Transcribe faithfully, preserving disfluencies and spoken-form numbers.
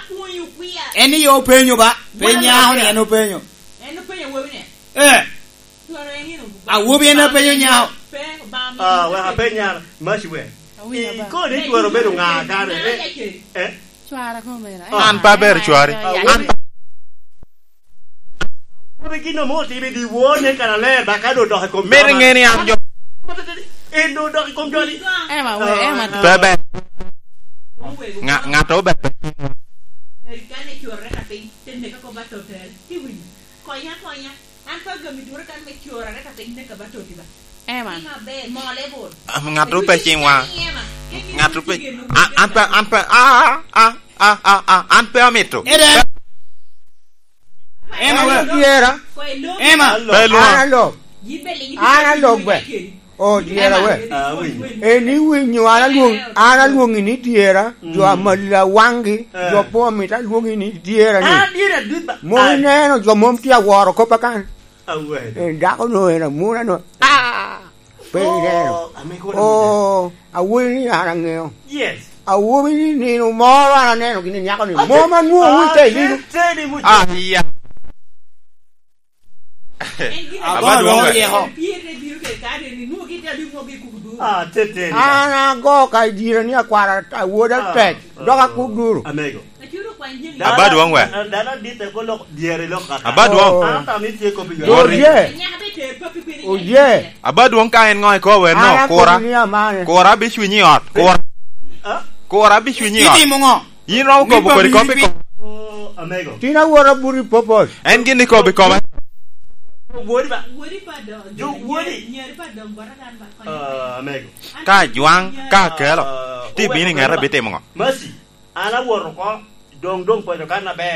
Pwonyo kwia. En ni yo openyo ba? Pe nyako ni en openyo. En openyo awobi ni. Eh. Twara en ino. Awobi en apenyo nyako. Pe, ba mi. Ah, wek apenyo, Maci we. Awinyo ba. Kodi twara obedo ŋa kare? Eh? Eh? Cwara kome na. An pe aber cwari. An Awobi gin omo otimo i dyewor nen kan aler, ba ka doŋ odok i kom Meri joma. Ŋe ni an jo. En doŋ odok i kom joni. Ema, we, ema. Ah. Pe ber. Ŋa-, ŋat ober pe. Kan ecworre ka piny, te neka ko ba totel. Ti winyo. Konya, konya. An pe agamo dwora kan me cworre ka piny, neka ba toti ba. Ema. Tim aber, mole bot. Am, ŋat ope cim wa. Ema. Ŋat ope. A, an pe, an pe, a, a, a, a, a, an pe amito. Ere. Ema, we. Tyera. Ema. Pe lwa. An alok. An alok be. O, tyera we. Ah, winyo. En iwinyo, an alwong-, an alwoŋi ni tyera, jo amali awaŋgi, jo po mit alwoŋi ni tyera ni. Ah, dyera dut ba. Mom ineno, jo mom tye aworo kop akan. Awene. En dako no, en amuna no. Ah! Pe ineno. Oh, ame kono. Oh, awobi ni an aŋeo. Yes. Awobi ni nino moro an aneno gini nyako ni. Mom anwoŋo wun te lino. Ah, iya. Abadwong we. An ago ka i dyere ni akwara awoda tek, dok akuduru. Amego. Abadwong we. Dano adit eko lok dyere lok kaka. Abadwong. Oh. An atamo ni tye kop i Oye. Oye. Abadwong ka en ŋo ikobo en no, kura. Kura bicwiny i ot. Kura. Ah? Kura bicwiny i ot. Itimo ŋo? Yin romo kobo kodi kop i kop. Oh, amego. Tin awot abuto i popol. En gin ikobo i kome. Wodi ba? Wodi pa dong. Jo wodi. Nyeri pa dong bota kan ba konyo. Ah, amego. Ka ajwaŋ, ka akelo, ah, ti bino i ŋete bitimo ŋo? Mercy, an awoto oko, dong, dong pwonyo kan aber.